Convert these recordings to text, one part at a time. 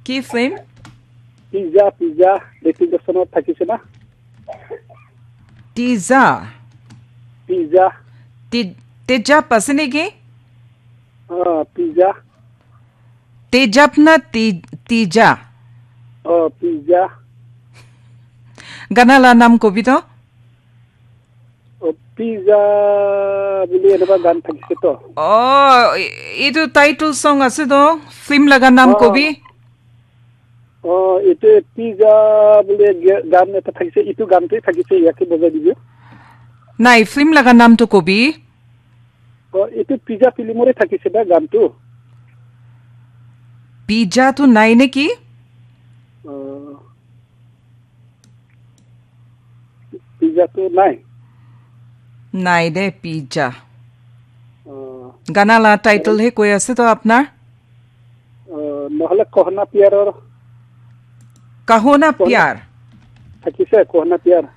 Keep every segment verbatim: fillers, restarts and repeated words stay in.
Ki film? Pizza, pizza. Hritik Roshan thakise na? Teja. Pizza. Te- Tejab ase niki? Ah, pizza. Tejab na Te- Teja? Oh, pizza. Gana la nam kobi to? Oh, pizza buli eneka gan thakise to. Oh, e- etu title song ase to? Film laga nam Oh. kobi? Oh, etu pizza buli ge- gan eta thakise, etu gan te thakise, yake bojai dibi. Nai, film laga nam to kobi? Oh, etu pizza film ore thakise da gan tu. Pizza tu nai neki? Oh. Pizza tu nai. Nai de pizza. Oh. Gana la title he koi ase to apnar? Uh, nohole Kahona Pyar or Kahona Pyar. Thakise Kahona Pyar.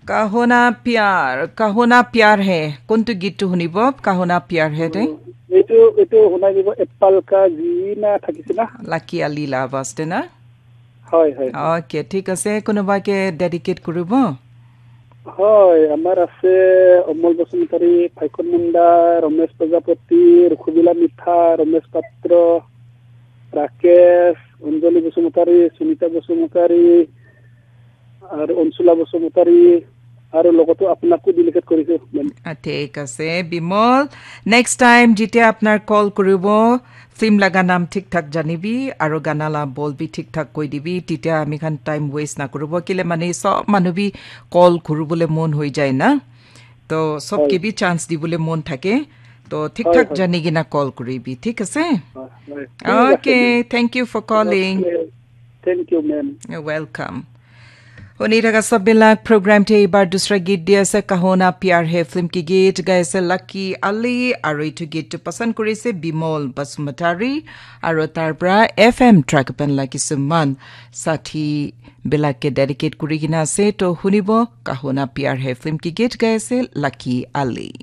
Kahona Pyar, Kahona Pyar hai. Kuntu git tu hunibo? Kahona Pyar hai de. Etu etu hunai dibo Apple ka jina thakise na. Lucky Ali la bas de na. Hoi hoi. Okay, thik ase. Kunuba ke dedicate kuribo? Hoi, amar ase Omol Basumatari, Phaikon Munda, Romesh Prajapati, Rukhubila Mitha, Romesh Patro, Rakesh, Anjali Basumatari, Sunita Basumatari, aru Ansula Basumatari, aru logoto apnako dedicate korisu, ma'am. Ah, thik ase, Bimol. Next time, jitia apnar call kuribo, film laga nam thik thak janibi, aru gana la bol bi thik thak koi dibi, titia ami khan time waste na kuribo. Kile mane sob manu bi call kuribole mon hoi jai na. To sob ke bi chance dibole mon thake. To thik thak jani kena call kuribi, thik ase? Hoi, hoi. Thik ase, okay, ma'am. Thank you for calling. Okay. Thank you, ma'am. You're welcome. Huni thaka sob bilak, program te ibar dusra git di ase, Kahona Pyar Hai film ki git gai ase Lucky Ali, aru etu git tu pasand kuri ase Bimol Basumatari, aru tar pra F M Track Band la kisuman sathi bilak ke dedicate kuri kena ase, to hunibo Kahona Pyar Hai film ki git gai ase Lucky Ali.